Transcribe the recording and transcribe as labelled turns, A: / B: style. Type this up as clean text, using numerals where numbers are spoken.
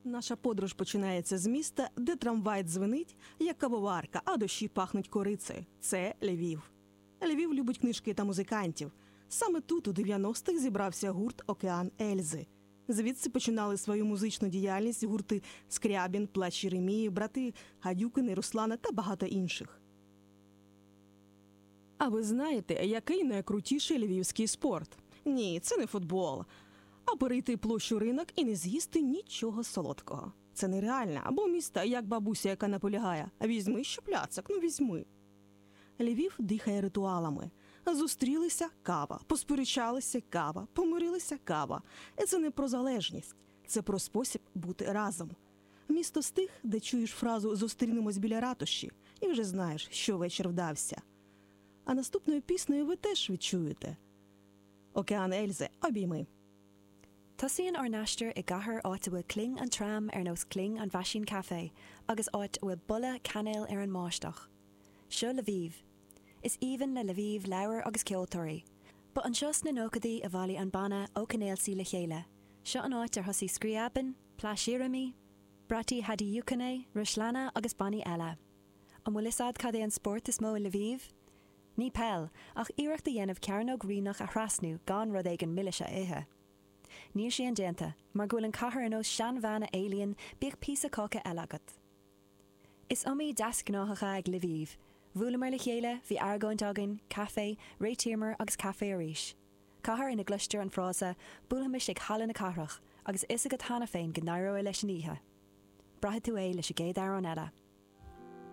A: Наша подорож починається з міста, де трамвай дзвенить, як кавоварка, а дощі пахнуть корицею. Це Львів. Львів любить книжки та музикантів. Саме тут у 90-х зібрався гурт Океан Ельзи. Звідси починали свою музичну діяльність гурти Скрябін, Плач Єремії, брати Гадюкини, Руслана та багато інших. А ви знаєте, який найкрутіший львівський спорт? Ні, це не футбол. А перейти площу ринок і не з'їсти нічого солодкого. Це нереально. Або міста, як бабуся, яка наполягає. Візьми ще пляцок, ну візьми. Львів дихає ритуалами. Зустрілися кава, посперечалися кава, помирилися кава. І це не про залежність, це про спосіб бути разом. Місто з тих, де чуєш фразу Зустрінемось біля ратуші, і вже знаєш, що вечір вдався. А наступною піснею ви теж відчуєте. Океан Ельзи, обійми.
B: Tosaíonn ár n-aistear i gcathair áit a bhfuil cling an tram ar nós cling an mheaisín caife agus áit a bhfuil boladh cainéil ar an mbáisteach. Seo Lviv. Is aoibhinn le Lviv leabhair agus ceoltóirí. Ba anseo sna nóchaidí a bhailigh an banna Okean Elzy le chéile. Seo an áit ar thosaigh Scriabin, Plash Yeremy, Brati Hadiukiny, Ruslana agus bannaí eile. An bhfuil fhios a'd cad é an spórt is mó i Lviv? Ní peil, ach iarracht a dhéanamh cearnóg Rynok a thrasnú gan rud éigin milis a ithe. Níl sé indéanta, mar go bhfuil an cathair ar nós seanbhean a éilíonn bíodh píosa cáca eile agat. Is iomaí deasghnáthacha ag Lviv. Bhuaileamar le chéile, bhí argóint againn, caife, réitíomar agus caife arís. Cathair ina gcloistear an frása buailfimis ag Halla na Cathrach agus fhios agat cheana féin go n-éireoidh leis an oíche. Braithfidh tú é leis an gcéad amhrán eile.